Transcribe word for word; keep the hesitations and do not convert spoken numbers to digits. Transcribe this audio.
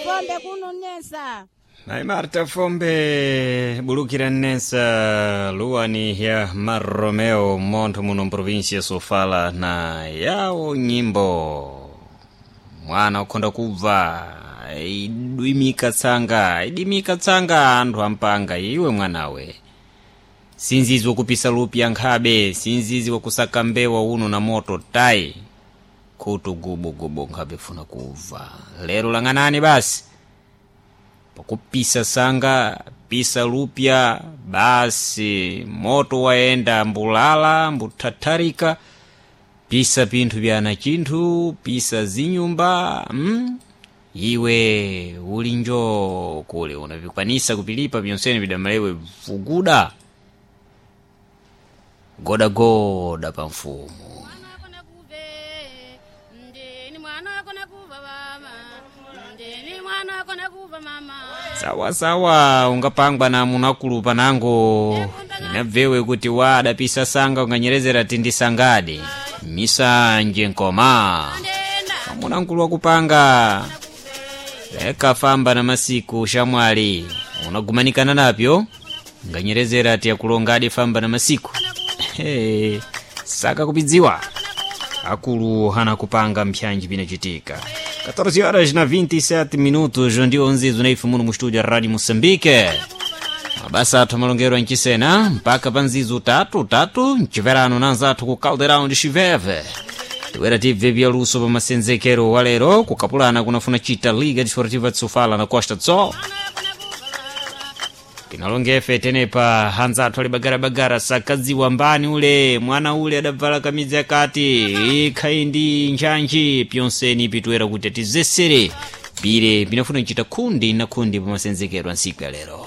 Fombe kununesa. Naye Marta Fombe bulukira nnensa luwani ya Maromeo montho muno mprovinsia Sofala na yawo nyimbo mwana ukhonda kubva idwimika tsanga idimika tsanga anthu ampanga iwe mwanawe sinzizi wakupisa lupya nkhabe sinzizi wakusaka mbewa uno na moto tayi khutu gubugubu nkhabe funa kubva lero lang'anani basi pakupisa sanga pisa lupya basi moto waenda mbulala mbuthatharika pisa pinthu byana chinthu pisa zinyumba mm? iwe uli njo kule unavikwanisa kupilipa byonsene bidamalewe vuguda godagoda pa mfumu. Mwana kuve ndini mwana kona kuva baba ndini mwana kona kuva mama. Sawa sawa, ungapangwa na munakulu panango inabvewe kuti wa adapisa sanga unganyerezera tindisangadi misanje nkoma Ndenda amunakulu wakupanga leka famba na masiku shamwali unagumanikana napyo nganyerezera ti akulongadi famba na masiku. Hey, saka kupidziwa akulu hana kupanga mpyanji pinacitika catorze horas na vinte e sete minutos, ndio nzizo naife muno mu studio ya Radio Moçambique. Mabasa athu amalongero ancisena mpaka pa nzizo tatu tatu mciverano nanzathu ku Caldeirão de Chiveve tiwera tibve byaluso pa masenzekero wa lero kukapulana kunafuna chita Liga Desportiva de Sofala na Costa do Sol pinalongefe tenepa hanzathu ali bagarabagara sakadziwa mbani ule mwana ule adabvala kamidzi akati ikhai ndi ntchantchi pyonseni pitwera kuti atizesere pire pinafuna kuchita khundi na khundi pa masenzekero a ntsiku ya lero.